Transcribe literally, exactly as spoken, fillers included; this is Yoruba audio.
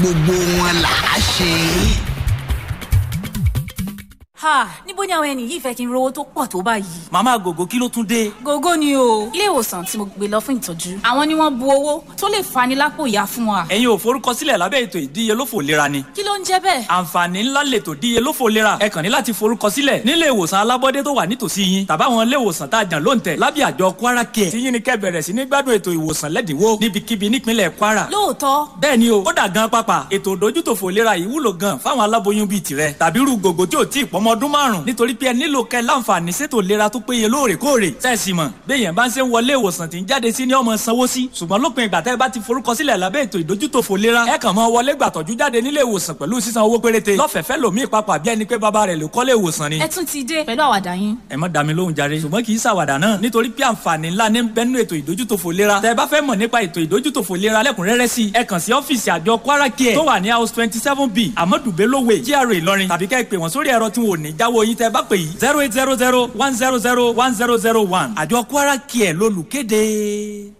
Gbogbo wọn là á ṣe. Ha, níbo ni àwọn ẹni yìí fẹ́ kí n rówó tó pọ̀ tó báyìí? Màmá Gògó, kí ló tún dé? Gógó ni o. Ilé ìwòsàn tí mo gbé lọ fún ìtọ́jú, àwọn ni wọ́n bu owó tó lè fani lápò ìyá fún wa. Ẹ̀yin ò forúkọsílẹ̀ lábẹ́ ètò ìdíyelófò ìlera ni? Kí ló ń jẹ́ bẹ́ẹ̀? Àǹfààní ńlá lètò ìdíyelófò ìlera. Ẹ kàn ní láti forúkọsílẹ̀ nílé ìwòsàn alábọ́dé tó wà nítòsí yín tàbáwọn ilé ìwòsàn tá a jàn lóǹtẹ̀ lábẹ́ àjọ Kwara Care. Tí yín ni kẹ́ bẹ̀rẹ̀ sí ní gbádùn ètò ìwòsàn lẹ́dínwó níbikíbi nípínlẹ̀ Kwara. Lóòótọ́? Bẹ́ẹ̀ ni o. Kódà gan pápá, ètò ìdójútòfò ìlera yìí wúlò gan fáwọn aláboyún bíi tirẹ̀ tàbí irú Gògó tí ò tí ì pọ́mọ ọdún márùn, nítorí pé ẹ nílò kẹ́ láǹfààní sétò ìlera tó péye lóòrèkóòrè. Sẹ́ẹ̀sì mọ̀ béèyàn bá ń ṣe ń wọlé ìwòsàn tí ń jáde sí ni ọmọ sanwó sí, ṣùgbọ́n lópin ìgbà tẹ́ ẹ bá ti forúkọsílẹ̀ lábẹ́ ètò ìdójútòfò ìlera, ẹ kàn máa wọlé gbàtọ́jú jáde nílé ìwòsàn pẹ̀lú sísan owó péréte lọ́fẹ̀ẹ́fẹ́ lòmíì papà, bí ẹni pé bàbá rẹ̀ ló kọ́lé ìwòsàn ni. Ẹ tún ti dé pẹ̀lú àwàdà yín. Ẹ má dá mi lóhùn jàre. Ṣùgbọ́n kì í ṣàwàdà náà, nítorí pé àǹfààní ńlá ní bẹ́nu ètò ìdójútòfò ìlera. Tẹ́ ẹ bá fẹ́ mọ̀ nípa ètò ìdójútòfò ìlera lẹ́kùnrẹ́rẹ́ sí, ẹ kàn sí ọ́fíìsì àjọ Kwara Care tó wà ní house twenty seven B, Amadu Bello Way, G R A Ìlọrin, tàbí kẹ́ ẹ pè wọ́n sórí ẹ̀rọ tí wọn ò ní jáwọ́ yín tẹ́ ẹ bá pè yìí: zero eight zero zero one zero zero one zero zero one. Àjọ Kwara Care lolùkéde.